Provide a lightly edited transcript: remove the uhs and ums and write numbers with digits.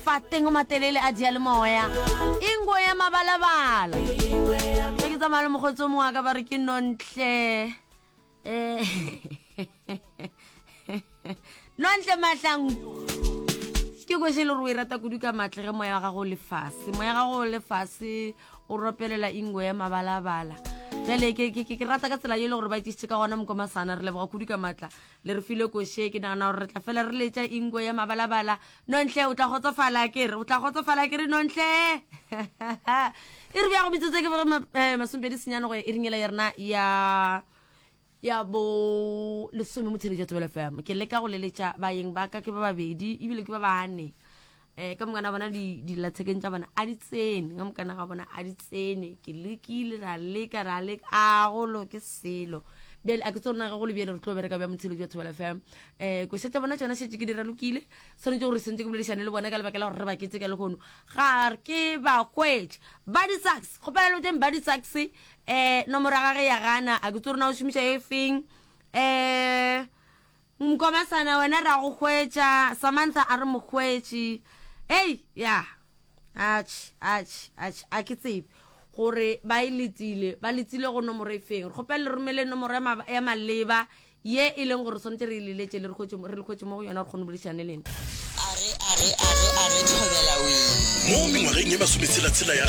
Mafateng o matelele a diyalemoya. Ingo ya mabalabala. Ge ke tsamaya le mokgotsi o mongwe wa ka ba re ke Nontle. Eh, Nontle Mahlangu. Ke kwešo e le gore o e rata kudu ka matle ge moya wa gago o le fase. Moya wa gago o le fase o ropelela ingo ya mabalabala. Bjale ke, ke, ke, ke rata ka tsela ye e le gore ba itšisitše ka gona mokomasana. Re leboga kudu ka matla. Le re file koše, ke nagana gore re tla fela re letša ingo ya mabalabala. Nonhle, o tla kgotsofala ke re, o tla kgotsofala ke re, Nonhle. E re bja go metsotso ke boge eh, masomepedi senyane go ya iring yela ya rena ya ya bo lesome mo theletša Thobela FM. Ke leka go leletša baeng ba ka ke ba babedi ebile ke ba bane. Eh, ka mokana bona dillathekeng tša bona a di tsene, ka mokana ga bona a di tsene. Ke lekile ra leka ra leka a go loke selo. Bjale a ke tsone ga go le bjale re tlo bereka bja motheletši wa Thobela FM. Eh, koša tša bona tšona šetše ke di ralokile. Swanetše gore sentse ke boledišane le bona ka lebaka la gore re ba ketse ka lehono. Ga ke ba hwetše. Buddy Sachs, kgopela le boteng Buddy Sachs eh nomoro ya gage ya gana a ke tsore na o šomiša e feng. Eh Mkomasana wena ra go hwetša, Samantha a re mo hwetše. Ei, ya. Atšhe, atšhe, atšhe, a ke tsebe gore ba e letile, ba letile go nomoro e feng. Re kgopela le romele nomoro ya ma, ya maleba ye e leng gore swanetše re e leletše le re hwetše, re le hwetše mo go yona re kgone go boledišana le lena. A re, a re, a re, a re thobela wee. Mo mengwageng ye masometshela-tshela ya.